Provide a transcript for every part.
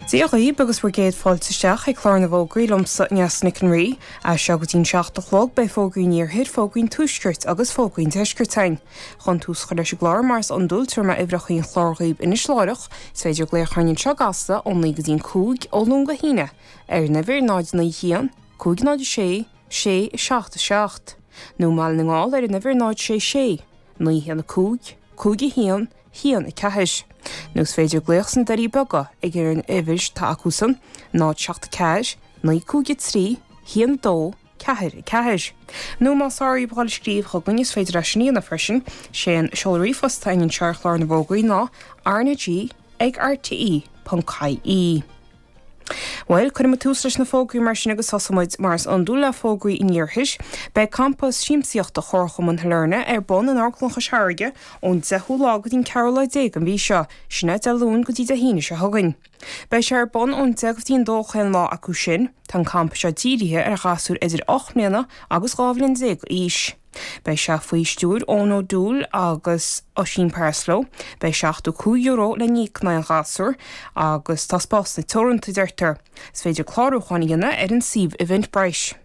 Dia dhaoib agus bhur gcéad fáilte isteach ag Clár na bhFógraí liomsa, Neasa Nic an Rí. As seo go dtí an 7 a chlog beidh fógraí an Iarthair, fógraí an Tuaiscirt agus fógraí an Deiscirt againn. Chun tús a chur leis an gclár, mar is iondúil, tabharfaidh mé uimhreacha an chláir dhaoib anois láithreach. Is féidir glaoch orainn anseo i gCasla ó 9 go dtí an 5, ó Luan go hAoine, ar an uimhir 0 9 1 5 0 6 6 7 7, nó i mBaile na nGall ar an uimhir 0 6 6 9 1 5 5 1 1, 4. Nó is féidir glaoch sna Doirí Beaga ag ar an uimhir atá acusan, 0 7 4 9 5 3 1 2 4 4. Nó más fearr dhaoib a dhul ag scríobh chugainn is féidir é sin a dhéanamh freisin, sé an seoladh ríomhphost atá againn anseo ar Chlár na bhFógraí ná rnag ag rte ponc ie. Bhuel, cuirfidh muid tús leis na fógraí mar sin agus tosóidh muid mar is iondúil le fógraí an Iarthair. Beidh campa siamsaíochta Chomharchumann Shailearna ar bun in Amharclann Chois Fharraige ón 10ú lá go dtí an ceathrú lá déag den mhí seo, sin é Dé Luain go dtí Dé hAoine seo chugainn. Beidh sé ar bun ón 10 go dtí an 2 chaon lá acu sin. Tá an campa seo dírithe ar ghasúir idir 8 mbliana agus 12 bhliain d'aois. Beidh sé faoi stiúir Eoin O'Doul agus Oisín Parslow. Beidh €75 le n-íoc in aghaidh an ghasúir agus tá spásanna teoranta, a deirtear. Is féidir clárúchán a dhéanamh ar an suíomh Eventbrite.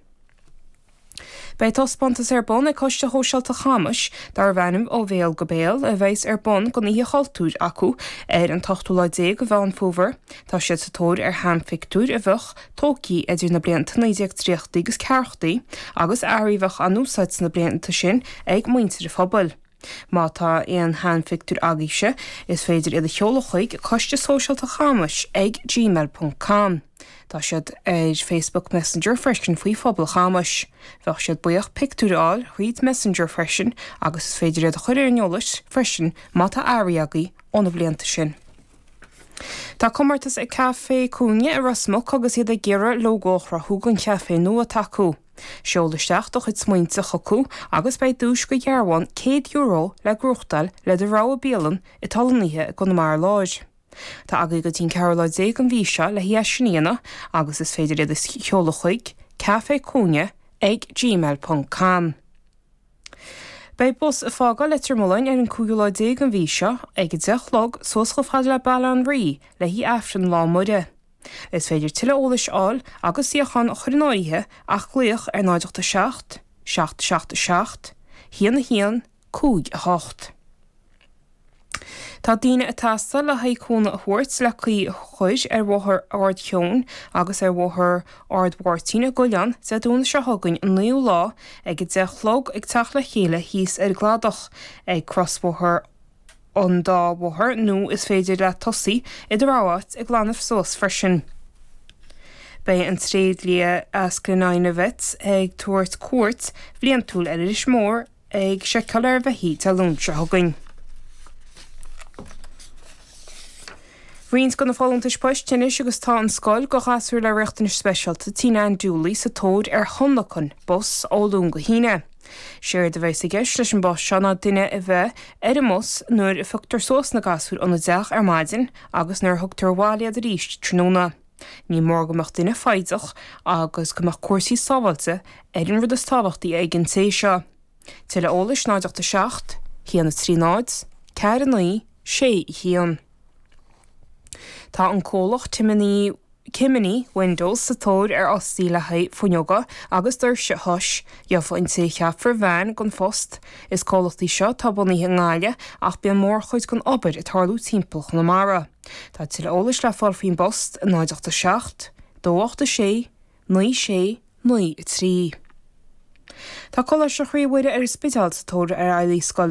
Beidh taispeántas ar bun ag Coiste Shóisialta Chamais darbh ainm Ó Bhéal go Béal a bheas ar bun don Oíche Chultúir acu ar an t-ochtú lá déag de Mheán Fómhair. Tá siad sa tóir ar sheanphictiúir a bheadh tógtha idir na blianta 1930 agus ceathrachaidí agus earraí a bheadh á n-úsáid sna blianta sin ag muintir an phobail. Má tá aon sheanphictiúir agaibhse, is féidir iad a sheoladh chuig Coiste Sóisialta Chamais ag gmail ponc com. Tá siad ar Facebook Messenger freisin faoi Phobal Chamais. Bheadh siad buíoch pictiúir a fháil thríd Messenger freisin agus is féidir iad a chur ar an eolas freisin má tá earraí agaibh ó na blianta sin. Tá comórtas ag Caifé Cúinne i Ros Muc agus iad ag iarraidh lógó a chruthú don chaifé nua atá acu. Seol isteach do chuid smaointe chucu agus beidh duais de dhearbhán €100 le gnóthachtáil le do rogha bialann atá lonnaithe i gConamara Láir. Tá agaibh go dtí an ceathrú lá déag den mhí seo le é sin a dhéanamh agus is féidir iad a sheoladh chuig caifécúinne ag gmail ponc com. Beidh bus ag fágáil Leitir Mealláin ar an cúigiú lá déag den mhí seo ag 10 a chlog suas chomh fada le Baile an Rí le haghaidh Aifreann Lá Muire. Is féidir tuilleadh eolais a fháil agus suíochán a chur in áirithe ach glaoch ar 0 8 7 7 7 7 1 1 5 8. Tá daoine ag teastáil le haghaidh cúnamh a thabhairt le caoi a chur ar Bhóthar Ard Sheoin agus ar Bhóthar Ard Mháirtín i gCoileán Dé Domhnaigh seo chugainn an 9ú lá ag 10 a chlog ag teacht le chéile thíos ar an gcladach ag crosbhóthar an dá bhóthar nó is féidir leat tosaí i do rogha áit ag glanadh suas freisin. Beidh an tréidlia as Glenina Vets ag tabhairt cuairt bhliantúil ar Inis Mór ag seiceáil ar bheithígh Dé Luain seo chugainn. Roinnt de na folúntais poist anois agus tá an scoil do ghasúir le riachtanais speisialta Tina Ann Dooley sa tóir ar thionlacan bus ó Luan go hAoine. Séard a bheas i gceist leis an bpost seo ná duine a bheith ar an mbus nuair a phioctar suas na gasúir óna dteach ar maidin agus nuair a thugtar abhaile iad arís tráthnóna. Ní mór go mbeadh duine foighdeach agus go mbeadh cúrsaí sábháilte ar an rud is tábhachtaí ag an té seo. Tuilleadh eolais 0 8 7 1 3 0 4 9 6 1. Tá an comhlacht Timoney Cimini Windows sa tóir ar fhostaí le haghaidh fuinneoga agus doirse a thois. Gheobhaidh an té a cheapfar veain don phost. Is comhlacht í seo atá bunaithe i nGaillimh ach bíonn mórchuid den obair ag tarlú timpeall Chonamara. Tá tuilleadh eolais le fáil faoin bpost, 0 8 7 2 8 6 9 6 9 3. Tá Coláiste Chroí Mhuire ar an Spidéal sa tóir ar fheighlí scoile.